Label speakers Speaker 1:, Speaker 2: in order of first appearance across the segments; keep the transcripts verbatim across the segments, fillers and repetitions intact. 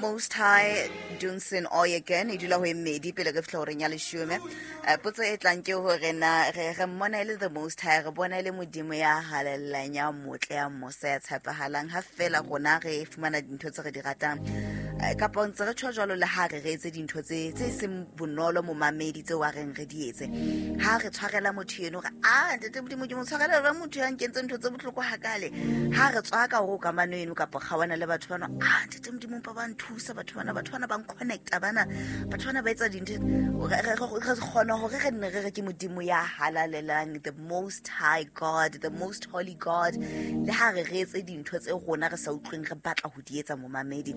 Speaker 1: Most High Dunsin Oyekan e dula ho e mmedi pele re fihla horeng ya leshome. Eh, potso e tlang ke hore na re re mmona e le the Most High, re bona e le modimo ya halalelang, ya motle, ya mosa, ya tshepahalang, ha fela rona re fumana dintho tse re di ratang. Eh, kapa ntse re tjho jwalo le ha re re etse dintho tse tse seng bonolo momamedi tseo a reng re di etse. Ha re tshwarela motho eno re a ntate modimo ke mo tshwarela jwang motho ya nkentse ntho tse bohloko hakale. Ha re tswa ka hore o kamano eno kapa kgawana le batho bana, a ntate modimo mpa ba nthusa batho bana, batho bana ba nconnecta bana, batho bana ba etsa dintho. Re re- re kgona hore re nne re re ke modimo ya halalelang, the Most High God, the Most Holy God, le ha re re etse dintho tse rona re sa utlweng re batla ho di etsa momamedi.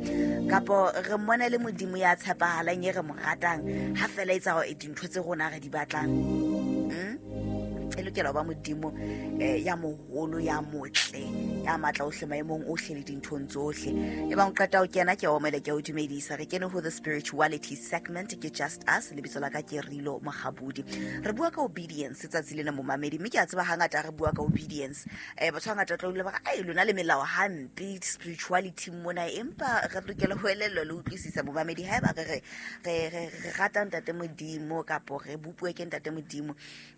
Speaker 1: Kapo re mmona le modimo ya tshepahalang e re mo ratang ha fela etsa hore dintho tse rona re di batlang. Mm? E lokela ho ba modimo eh, ya moholo, ya motle, ya matla ohle maemong ohle le dinthong tsohle. E bang o qeta ho kena, ke a omele, ke a o dumedisa. Re kene ho the spirituality segment, ke Just Us, lebitso la ka ke Rilo Mogabudi. Re bua ka obedience tsatsi lena momamedi, mme ke a tseba hangata re bua ka obedience, eh, batho hangata tla dula ba re ai lona le melao hampe spirituality mona, empa re lokela ho elellwa le utlwisisa momamedi. Haeba re re re re re rata ntate modimo kapo re bopuwe ke ntate modimo,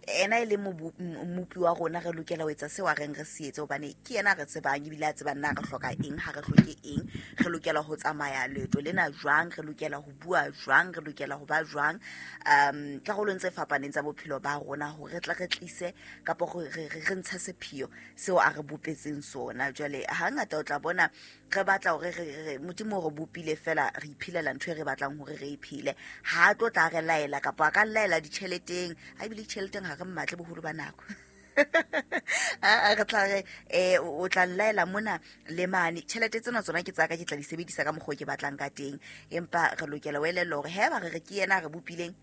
Speaker 1: ena e le mobu- m- mmopi wa rona, re lokela ho etsa seo a reng re se etse, hobane ke yena a re tsebang ebile a tsebang na re hloka eng, ha re hloke eng, re lokela ho tsamaya leeto lena jwang, re lokela ho bua jwang, re lokela ho ba jwang um karolong tse fapaneng tsa bophelo ba rona, hore re tle re tlise kapo re re- re ntshe sepheo seo a re bopetseng sona. Jwale hangata o tla bona re batla hore re re modimo o re bopile fela re iphelela ntho e re batlang hore re e phele, ha a tlo tla re laela kapa a ka laela ditjheleteng, ha ebile ditjheleteng ha re mmatle boholo ba nako. Ah, re tla re eh o tla nlaela mona le mane, tjhelete tsena tsona ke tsaka, ke tla di sebedisa ka mokgwa o ke batlang ka teng. Empa re lokela ho elellwa hore haeba re re ke yena a re bopileng,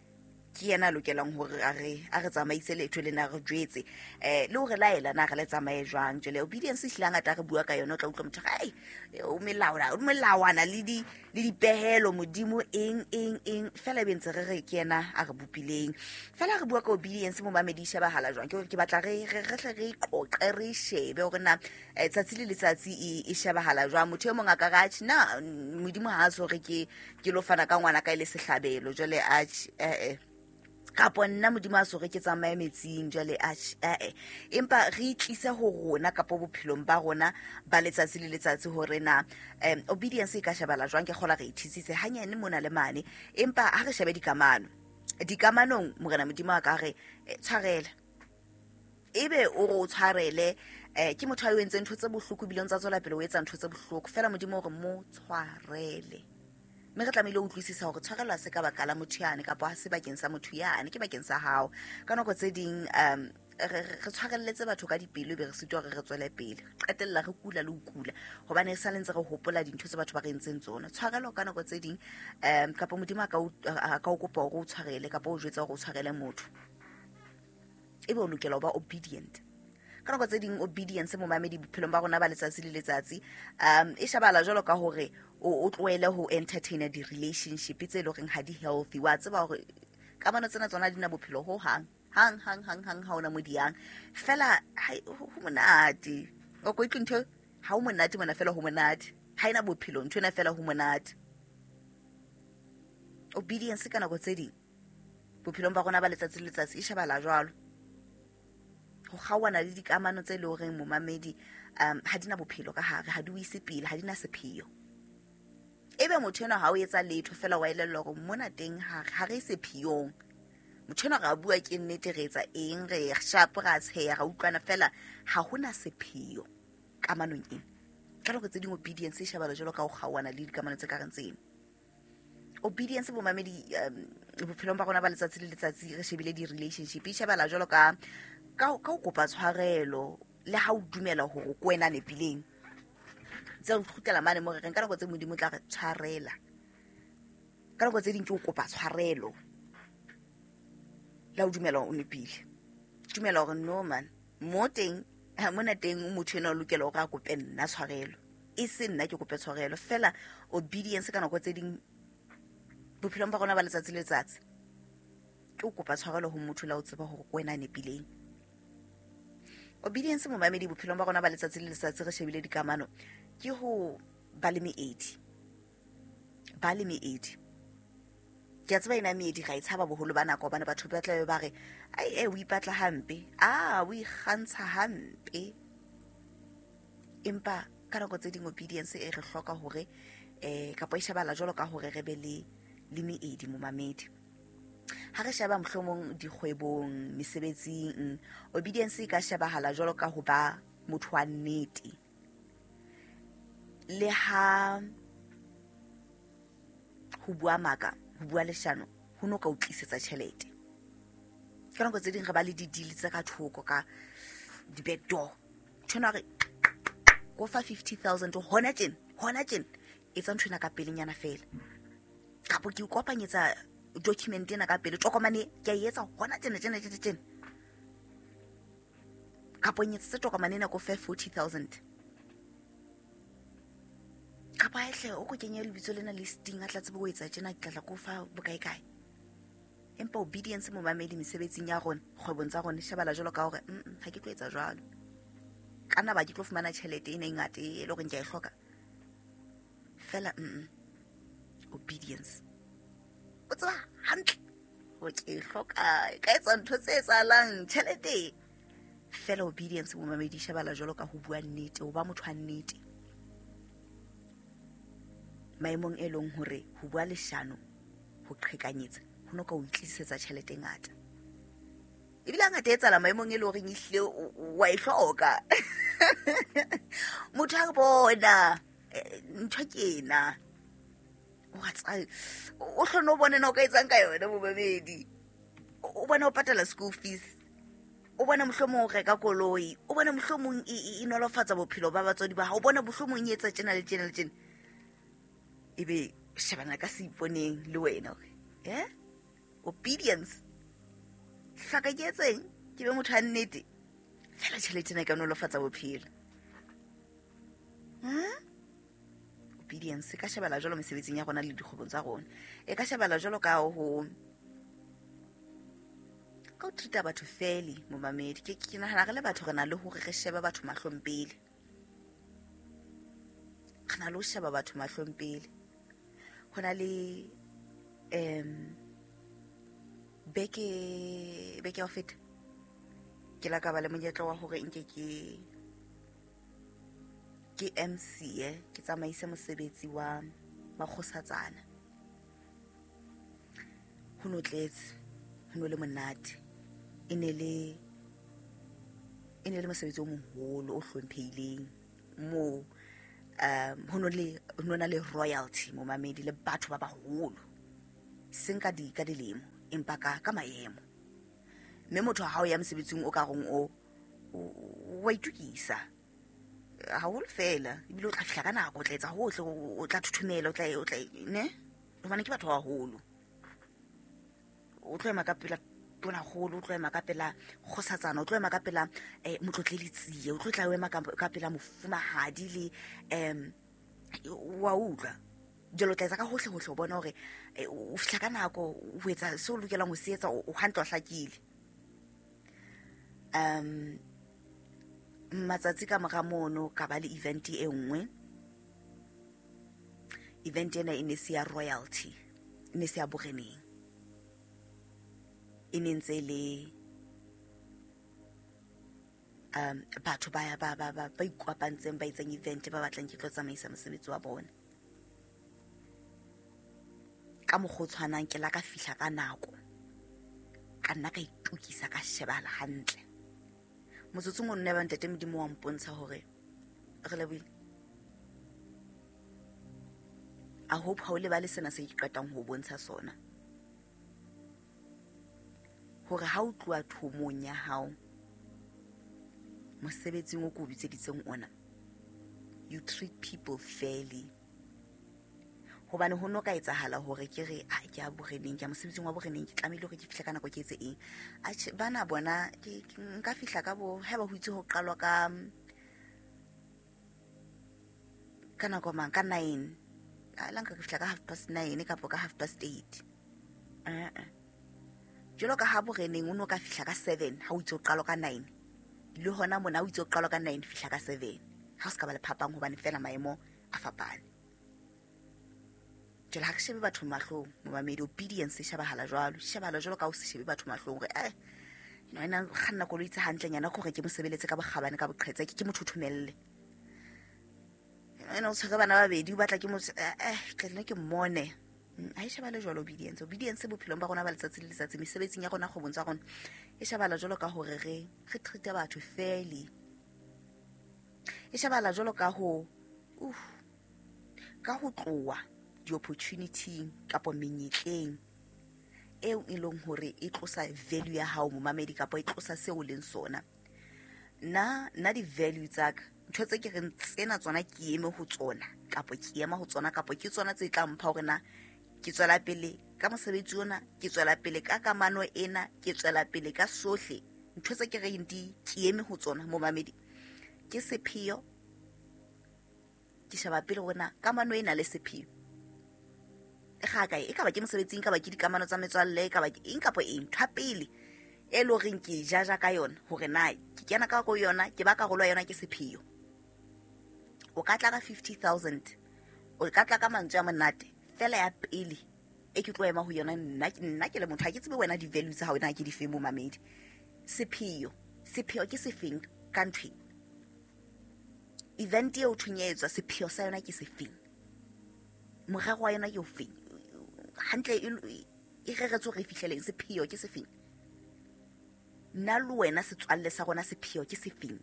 Speaker 1: ke yena a lokelang hore a re a re tsamaise leeto lena, re jwetse eh le hore laela na re le tsamaye jwang. Jwale obedience ehlile hangata re bua ka yona, o tla utlwa motho a re, ai o melawana, o melawana le di le dipehelo modimo eng eng eng, fela ebe ntse re re ke yena a re bopileng. Fela re bua ka obedience momamedi, e shebahala jwang? Ke hore ke batla re re re hle re qoqe, re shebe hore na eh, tsatsi le letsatsi e e shebahala jwang. Motho e mong a ka re atjhe na mm, modimo ha a so re ke ke lo fana ka ngwana ka e le sehlabelo, jwale atjhe eh eh kapo nna modimo a so re ke tsamaye metsing, jwale atjhe eh eh empa re itlise ho rona kapo bophelong ba rona ba letsatsi le letsatsi hore na um obedience e ka shebala jwang. Ke kgola re ithusitse hanyane mona le mane, empa ha re shebe dikamano. Dikamanong morena modimo a ka re eh, tshwarela, ebe o re o tshwarele eh ke motho a o entseng ntho tse bohloko ebile o ntsa tswela pele o etsa ntho tse bohloko, fela modimo o re mo tshwarele. Mme re tlamehile ho utlwisisa hore tshwarelo ha se ka baka la motho yane, kapa ha se bakeng sa motho yane, ke bakeng sa hao. Ka nako tse ding um re re tshwarelletse batho ka dipelo, ebe re sitwa hore re tswele pele, re qetella re kula le ho kula hobane e sa le ntse re hopola dintho tse batho ba re entseng tsona. Tshwarelo ka nako tse ding um kapa modimo a ka o a ka o kopa hore o tshwarele kapa o jwetsa hore o tshwarele motho, ebe o lokela ho ba obedient. Ka nako tse ding obedience momamedi bophelong ba rona ba letsatsi le letsatsi um e shebala jwalo ka hore o o tlohele ho entertaina di-relationship tse leng horeng ha di healthy. Wa tseba hore kamano tsena tsona di na bophelo ho hang hang hang hang hang, ha ona mo di yang fela hai, ho ho monate o ko utlwe ntho ha ho monate mona, fela ho monate, ha ena bophelo ntho ena, fela ho monate. Obedience ka nako tse ding bophelong ba rona ba letsatsi le letsatsi e shebala jwalo ho kgaohana le dikamano tse leng horeng momamedi um ha di na bophelo ka hare, ha di o ise pele, ha di na sepheo. Ebe motho enwa ha o etsa letho fela, wa elellwa hore mona teng ha ha re sepheong, motho enwa re a bua ke nnete, re etsa eng, re sharp, ra tsheha, ra utlwana, fela ha hona sepheo kamanong ena. Ka nako tse ding obedience e shebala jwalo ka ho kgaohana le dikamano tse ka reng tseno. Obedience bomamedi um bophelong ba rona ba letsatsi le letsatsi re shebile di-relationship, e shebala jwalo ka ka ka ho kopa tshwarelo le ha o dumela hore ke wena a nepileng. Tse re kgutlela mane mo re reng ka nako tse modimo o tla re tshwarela, ka nako tse ding ke ho kopa tshwarelo le ha o dumela hore o nepile, dumela hore no man mo teng ha mona teng motho enwa o lokela hore a kope nna tshwarelo, e se nna ke kope tshwarelo. Fela obedience ka nako tse ding bophelong ba rona ba letsatsi le letsatsi ke ho kopa tshwarelo ho motho le ha o tseba hore ke wena a nepileng. Obedience momamedi bophelong ba rona ba letsatsi le letsatsi re shebile dikamano ke ho ba le meedi. Ba le meedi. Ke a tseba ena meedi ga e tshaba boholo ba nako hobane batho ba tla be ba re ai e o ipatla hampe, a o ikgantsha hampe. Empa ka nako tse ding obedience e re hloka hore eh kapa e shebala jwalo ka hore re be le le meedi momamedi. Ha re sheba mohlomong dikgwebong, mesebetsing, obedience e ka shebahala jwalo ka ho ba motho wa nnete. Le ha ho bua maka, ho bua leshano, ho no ka o tlisetsa tjhelete. Ka nako tse ding re ba le di-deal tse ka thoko ka di-back door. Ntho re go fa fifty thousand hona tjena, hona tjena, etsa ntho ena ka pelenyana feela. Kapo ke o kopanyetsa document ena ka pele, tokomane ke a e etsa hona tjena tjena tjena tjena. Kapo nyetse tokomane ena ko fe forty thousand. Kapa ehle o ko kenye lebitso lena listing a tla tsebe ho etsa tjena, ke tla ko fa bokae kae. Empa obedience momamedi mesebetsing ya rona, kgwebong tsa rona, shebala jwalo ka hore mm ha ke tlo etsa jwalo. Ka nna ba ke tlo fumana tjhelete ena e ngata e le hore ke a e hloka. Fela mm obedience. O tseba hantle hore ke e hloka, e ka etsa ntho tse etsahalang tjhelete. Fela obedience momamedi shebala jwalo ka ho bua nnete, ho ba motho wa nnete. Maemong e leng hore ho bua leshano, ho qhekanyetsa, ho no ka o tlisetsa tjhelete e ngata. Ebile hangata e etsahala maemong e leng hore ehlile wa e hloka. Motho a re bona ntho ke ena. O a tsaya, o hlone o bone na o ka etsang ka yona momamedi. O bona o patala school fees, o bona mohlomong o reka koloi, o bona mohlomong e nolofatsa bophelo ba batswadi ba hao, o bona mohlomong e etsa tjena le tjena le tjena. Ebe shebana ka seiponeng le wena hore eh obedience hlaka ke etseng ke be motho a nnete fela tjhelete ena e ka nolofatsa bophelo. Ha obedience e ka shebala jwalo mesebetsing ya rona le dikgwebong tsa rona, e ka shebala jwalo ka ho ka ho treat-a batho fairly momamedi. Ke ke nahana re le batho re na le hore re shebe batho mahlong pele. Re na le ho sheba batho mahlong pele. Ho na le um beke beke ya ho feta ke la ka ba le monyetla wa hore nke ke ke M C eh ke tsamaise mosebetsi wa makgosatsana. Ho no tletse, ho no le monate. E ne le e ne le mosebetsi o moholo o hlomphehileng moo um ho no le ho no na le royalty momamedi le batho ba baholo, seng ka di ka dilemo empa ka ka maemo. Mme motho ha o ya mosebetsing o ka reng o wa itukisa haholo fela, ebile o tla fihla ka nako, o tla etsa hohle, o tla thuthumela, o tla o tla ne hobane ke batho ba baholo. O tlo ema ka pela tonakgolo, o tlo ema ka pela kgosatsana, o tlo ema ka pela eh motlotleli Tsie, o tlo tla ema ka pela mofumahadi le em wa utlwa. Jwale o tla etsa ka hohle hohle o bona hore o fihla ka nako, o etsa seo o lokelang ho se etsa, o hantle o hlakile. Um matsatsi ka mora mono ka ba le event e nngwe. Event ena e ne se ya royalty, e ne se ya boreneng. E ne ntse le um batho ba ba ba ba ikopantseng ba etsang event ba batlang ke tlo tsamaisa mosebetsi wa bona. Ka mokgwa o tshwanang ke la ka fihla ka nako, ka nna ka itukisa ka shebala hantle. Motsotsong o nne ba ntate Modimo wa mpontsha hore re lebohile. I hope ha o lebale sena se ke qetang ho bontsha sona, hore ha o tloha thomong ya hao mosebetsing o ko o bitseditseng ona, you treat people fairly. Hobane ho no ka etsahala hore ke re a ke a boreneng, ke a mosebetsing wa boreneng, ke tlamehile hore ke fihle ka nako ke etse eng. Atjhe bana bona ke nka fihla ka bo haeba ho itse ho qalwa ka ka nako mang, ka nine. A la nka ke fihla ka half past nine kapa ka half past eight. Eh eh. Jwalo ka ha boreneng o no ka fihla ka seven ha o itse ho qalwa ka nine. Le hona mona o itse ho qalwa ka nine, fihla ka seven. Ha o se ka ba le phapang hobane fela maemo a fapane. Jwale ha re shebe batho mahlong, momamedi, obedience e shebahala jwalo, e shebahala jwalo ka ho se shebe batho mahlong hore eh no ena kganna koloi tse hantlenyana ke hore ke mo sebeletse ka bokgabane ka boqhetseke, ke mo thothomelle. Ena o tshwere bana ba babedi, o batla ke mo eh ke nne ke mmone. Ha e shebale jwalo obedience. Obedience bophelong ba rona ba letsatsi le letsatsi, mesebetsing ya rona, kgwebong tsa rona, e shebala jwalo ka hore re re treat batho fairly. E shebala jwalo ka ho uh ka ho tloha di-opportunity kapa menyetleng eo e leng hore e tlosa value ya hao momamedi, kapa e tlosa seo o leng sona. Nna nna di-value tsa ka, ntho tse ke reng tsena tsona ke eme ho tsona, kapa ke ema ho tsona, kapa ke tsona tse tla mpha hore na ke tswela pele ka mosebetsi ona, ke tswela pele ka kamano ena, ke tswela pele ka sohle. Ntho tse ke reng di ke eme ho tsona momamedi ke sepheo. Ke sheba pele hore na kamano ena le sepheo e ga kae, e ka ba ke mosebetsing, ka ba ke dikamano tsa metswalle, e ka ba ke eng kapa eng. Ntho ya pele e le horeng ke jaja ka yona hore na ke kena ka go yona, ke ba karolo ya yona, ke sepheo. O ka tla ka fifty thousand, o ka tla ka mantswe a monate, fela ya pele e ke tlo ema ho yona nna, nna ke le motho, ha ke tsebe wena di-value tsa hao na ke di feng momamedi. Sepheo, sepheo ke sefeng ka ntho e? Event eo thweng e etswa, sepheo sa yona ke sefeng? Morero wa yona ke ofeng? Hantle e e reretswe hore e fihleleng, sepheo ke sefeng? Nna le wena setswalle sa rona sepheo ke sefeng?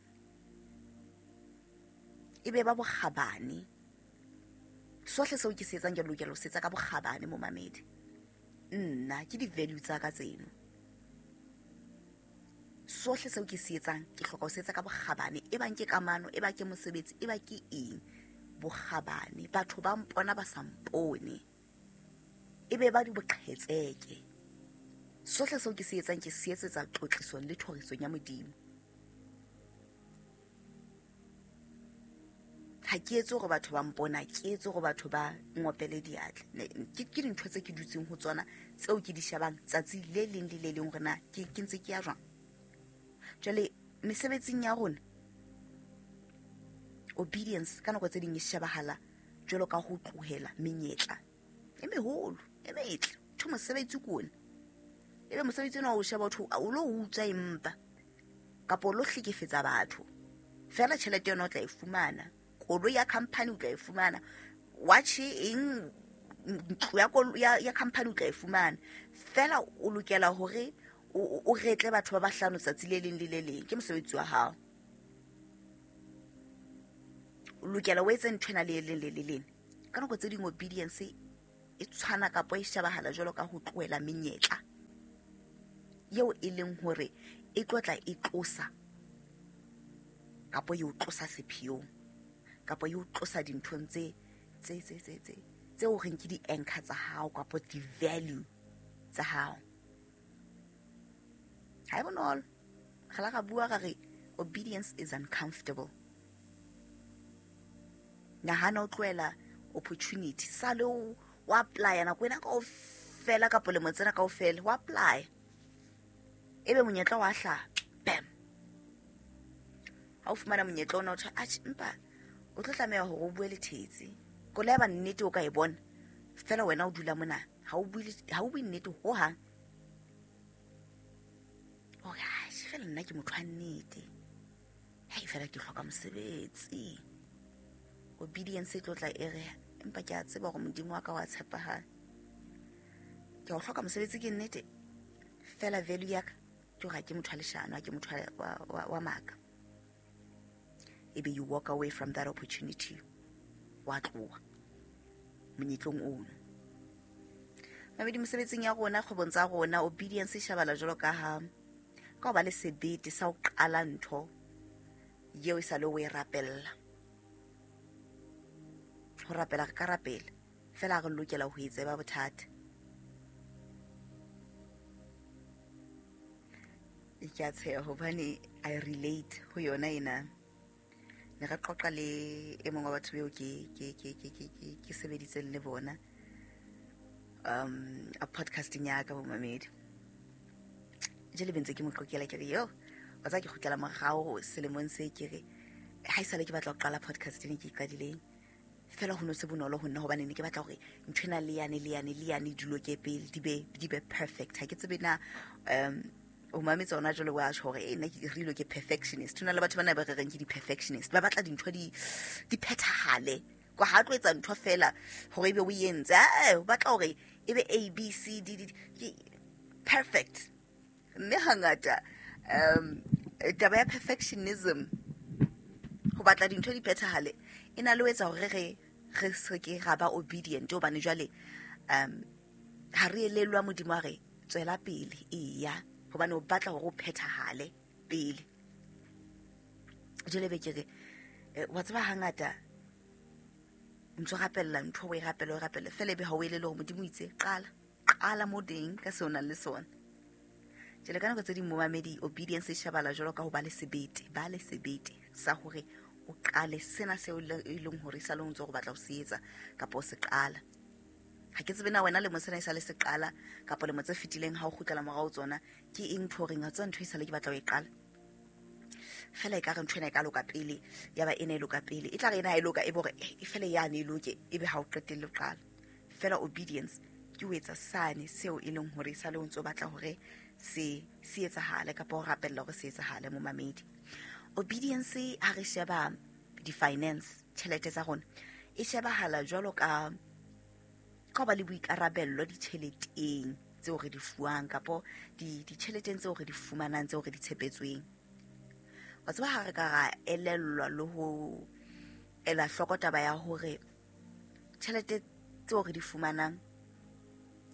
Speaker 1: E be ba bokgabane. Sohle seo ke se etsang ke lokela ho se etsa ka bokgabane momamedi. Nna ke di-value tsa ka tseno. Sohle seo ke se etsang ke hloka ho se etsa ka bokgabane, e bang ke kamano, e bang ke mosebetsi, e bang ke eng, bokgabane. Batho ba mpona ba sa mpone, e be ba di boqhetseke. Sohle seo ke se etsang ke se etsetsa tlotlisong le thorisong ya Modimo. Ha ke etse hore batho ba mpona, ke etse hore batho ba ngopele diatla. Ke ke dintho tse ke dutseng ho tsona, tseo ke di shebang tsatsi le leng le le leng hore na ke ke ntse ke ya jwang. Jwale mesebetsing ya rona, obedience ka nako tse ding e shebahala jwalo ka ho tlohela menyetla e meholo, e metle. Ntho mosebetsi ke ona, ebe mosebetsi ona o sheba batho o lo utswa empa kapa o lo hlekefetsa batho, fela tjhelete yona o tla e fumana, koloi ya company o tla e fumana, watch eng, ntlo ya ya, ya company o tla e fumana, fela o lokela hore o o retle batho ba bahlano tsatsi le leng le le leng. Ke mosebetsi wa hao, o lokela o etse ntho ena le leng le le leng. Ka nako tse ding obedience e tshwana kapa e shebahala jwalo ka ho tlohela menyetla eo e leng hore e tlotla e tlosa kapa e o tlosa sepheong, kapa e o tlosa dinthong tse tse tse tse tse tse o reng ke di-anchor tsa hao kapa di-value tsa hao. Ha e bonolo. Re la ra bua ra re obedience is uncomfortable. Nahana o tlohela opportunity, sale o o apply nako ena kaofela kapa lemo tsena kaofela, o apply, ebe monyetla wa hlaha, bam. Ha o fumana monyetla ona o thwe atjhe, empa o tlo tlameha hore o bue le thetsi. Koloi ya ba nnete o ka e bona, fela wena o dula mona, ha o bue ha o bue nnete hohang. Hore atjhe, fela nna ke motho wa nnete, hei fela ke hloka mosebetsi. Obedience e tlo tla e re, empa ke a tseba hore Modimo wa ka wa tshepahala, ke a o hloka mosebetsi ke nnete, fela value ya ka ke hore ha ke motho wa leshano, ha ke motho wa, wa, wa maka. Ebe you walk away from that opportunity, wa tloha monyetlong ono. Mamedi, mosebetsing ya rona, kgwebong tsa rona, obedience e shebala jwalo ka ha ka ho ba le sebete sa ho qala ntho eo e sa le o e rapella. Ho rapela re ka rapela, fela re lokela ho e tseba bothata. E ke a tsheha hobane I relate ho yona ena. Ne re qoqa le e mong wa batho beo ke ke ke ke ke ke ke sebeditseng le bona um a podcasting ya ka bomamedi. Jwale be ntse ke mo qoqela ke re yo, wa tseba ke kgutlela morao selemong se, ke re ha esale ke batla ho qala podcast ena ke e qadileng, Fela ho no se bonolo ho nna hobane ne ke batla hore ntho ena le yane le yane le yane di loke pele, di be di be perfect. Ha ke tsebe na um o mametse ona jwale wa tjho hore eh nna ke re ke perfectionist. Ho na le batho bana ba re reng ke di-perfectionist, ba batla dintho di di phethahale. Kwa ha tlo etsa ntho fela hore ebe o entse, eh o batla hore ebe A B C D D ke perfect. Mme hangata um taba ya perfectionism, ho batla dintho di phethahale, e na le ho etsa hore re re se ke ra ba obedient, hobane jwale um ha re elellwa Modimo a re tswela pele, eya, hobane o batla hore o phethahale pele. Jwale be ke re wa tseba hangata ntso rapella ntho o e rapela o rapela fela ebe ha o elele hore Modimo o itse qala qala mo teng ka seo nang le sona. Jwale ka nako tse ding momamedi, obedience e shebala jwalo ka ho ba le sebete, ba le sebete sa hore o qale sena seo e leng hore sa le o ntso go batla ho se etsa kapa o se qala. Ha ke tsebe na wena lemo sena e sa le se qala kapa lemo tse fetileng ha o kgutlela morao tsona ke eng ntho horeng ha tswa ntho e sa le ke batla ho e qala. Fela e ka re ntho ena e ka loka pele, ya ba ena e loka pele, e tla re ena e loka e bo re e fela yane e loke, ebe ha o qetelle ho qala. Fela obedience ke ho etsa sane seo e leng hore sa le o ntso batla hore se se etsahale kapa ho rapella hore se etsahale momamedi. Obedience ha re sheba di-finance, tjhelete tsa rona, e shebahala jwalo ka ka ba le boikarabello ditjheleteng tseo re di fuwang kapa di ditjheleteng tseo re di fumanang tseo re di tshepetsweng. Wa tseba ha re ka ra elellwa le ho ela hloko taba ya hore tjhelete tseo re di fumanang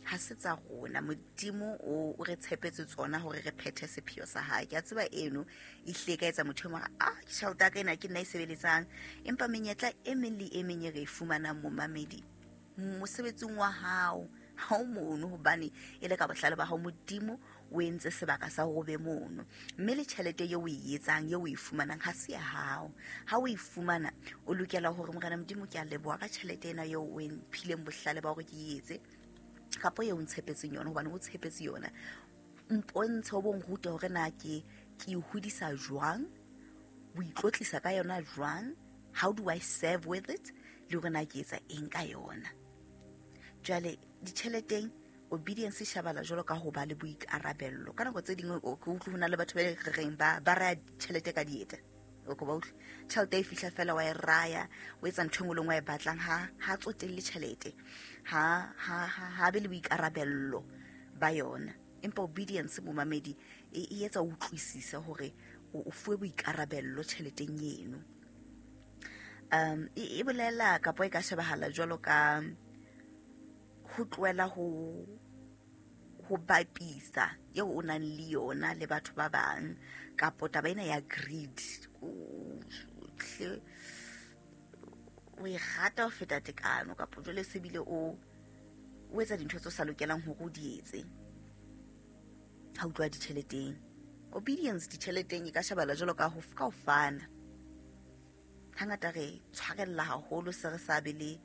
Speaker 1: ha se tsa rona, Modimo o re tshepetse tsona hore re phethe sepheo sa hae. Ke a tseba eno e hle ka etsa motho e mong ah ke tjhelete ya ka ena ke nna e sebeletsang, empa menyetla e meng le e meng e re e fumanang momamedi mosebetsing wa hao ha o mono, hobane e le ka bohlale ba hao Modimo o entse sebaka sa hore o be mono. Mme le tjhelete eo o e etsang eo o e fumanang ha se ya hao. Ha o e fumana o lokela hore Morena Modimo ke a leboha ka tjhelete ena eo o mphileng bohlale ba hore ke e etse kapa eo o ntshepetseng yona, hobane o tshepetse yona. Mpontshe o bo nrute hore na ke ke e hodisa jwang, o itlotlisa ka yona jwang, how do I serve with it, le hore na ke etsa eng ka yona. Jwale ditjheleteng obedience e shebala jwalo ka ho ba le boikarabello. Ka nako tse dingwe o ke utlwe ho na le batho ba re reng ba ba raya tjhelete ka dieta. O ko ba utlwe tjhelete e fihla fela wa e raya, o etsa ntho e nngwe le nngwe e batlang, ha ha tsotelle tjhelete, ha ha ha be le boikarabello ba yona. Empa obedience momamedi e e etsa o utlwisise hore o fuwe boikarabello tjheleteng eno. Um e bolela kapa e ka shebahala jwalo ka ho tlohela ho ho bapisa eo o nang le yona le batho ba bang, kapa taba ena ya greed, o e rata ho feta tekano, kapa jwale se bile o o etsa dintho tse sa lokelang hore o di etse ha o tloha ditjheleteng. Obedience ditjheleteng e ka shebala jwalo ka ho ka ho fana. Hangata re tshwarella haholo se re sa be le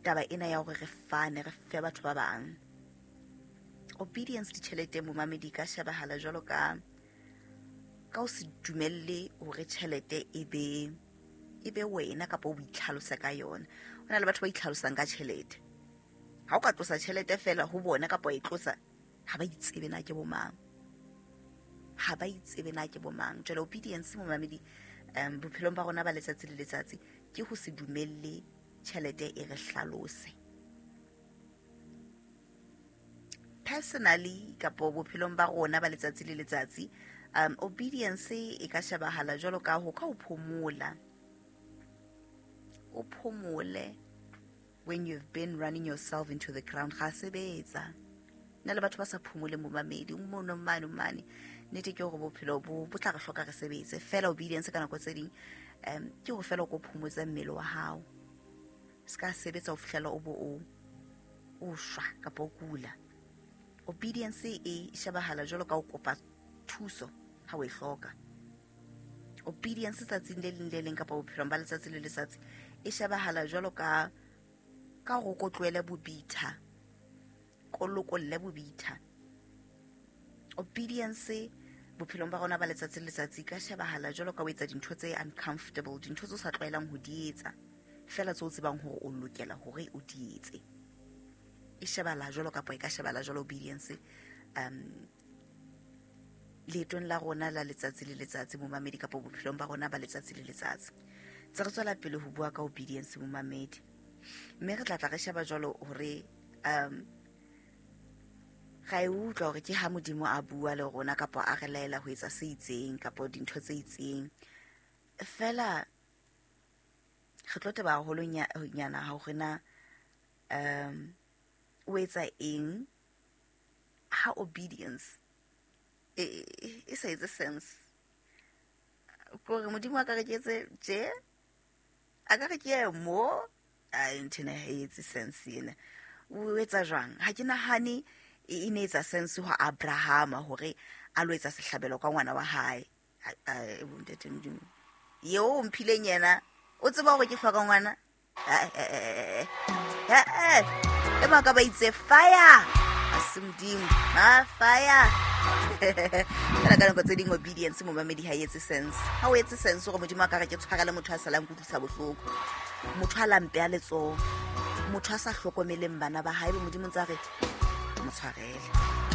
Speaker 1: taba ena ya hore re fane, re fe batho ba bang. Obedience ditjheleteng momamedi ka shebahala jwalo ka ka o se dumelle hore tjhelete e be e be wena kapa o itlhalose ka yona. Ho na le batho ba itlhalosang ka tjhelete. Ha o ka tlosa tjhelete fela ho bona kapa o e tlosa, ha ba itsebe na ke bo mang. Ha ba itsebe na ke bo mang. Jwale obedience momamedi um bophelong ba rona ba letsatsi le letsatsi ke ho se dumelle tjhelete e re hlalose. Personally kapo bophelong ba rona ba letsatsi le letsatsi, um obedience e ka shebahala jwalo ka ho ka o phomola. O phomole when you've been running yourself into the ground. Ga sebetsa. Nna le batho ba sa phomole momamedi, o mono mane mane. Nnete ke hore bophelo bo bo tla re hloka re sebetse. Fela obedience ka nako tse ding um ke hore fela o ko phomotse mmele wa hao. Se ka sebetsa ho fihlela o bo o o shwa kapa o kula. Obedience e shebahala jwalo ka o kopa thuso ha o e hloka. Obedience tsatsing le leng le leng kapa bophelong ba letsatsi le letsatsi e shebahala jwalo ka ka hore o tlohele bobitha, ko lokolle bobitha. Obedience bophelong ba rona ba letsatsi le letsatsi ka shebahala jwalo ka o etsa dintho tse uncomfortable, dintho tse o sa tlwaelang ho di etsa. Fela tseo tsebang hore o lokela hore o di etse. E shebala jwalo kapa e ka shebala jwalo obedience um leetong la rona la letsatsi le letsatsi momamedi kapa bophelong ba rona ba letsatsi le letsatsi. Tse re tswela pele ho bua ka obedience momamedi. Mme re tla tla re sheba jwalo hore um ga e utlwa hore ke ha Modimo a bua le rona kapa a re laela ho etsa se itseng kapa dintho tse itseng. Fela re tlo teba haholo nyana hore na um o etsa eng ha obedience e e sa etse sense. Kore Modimo a ka re ke etse tje, a ka re ke ye mo, ai ntho ena ha e etse sense ena. O etsa jwang? Ha ke nahane e ne etsa sense ho Abrahama hore a lo etsa sehlabelo ka ngwana wa hae. Ntate Modimo eo o mphileng yena o tseba hore ke hloka ngwana. E mang ka ba itse fire a se Modimo ma fire. Fela ka nako tse ding obedience momamedi ha e etse sense. Ha o etse sense hore Modimo a ka re ke tshwarele motho a salang kutlwisa bohloko, motho a lampe a letsoho, motho a sa hlokomeleng bana ba hae, Modimo ntse a re mo tshwarele.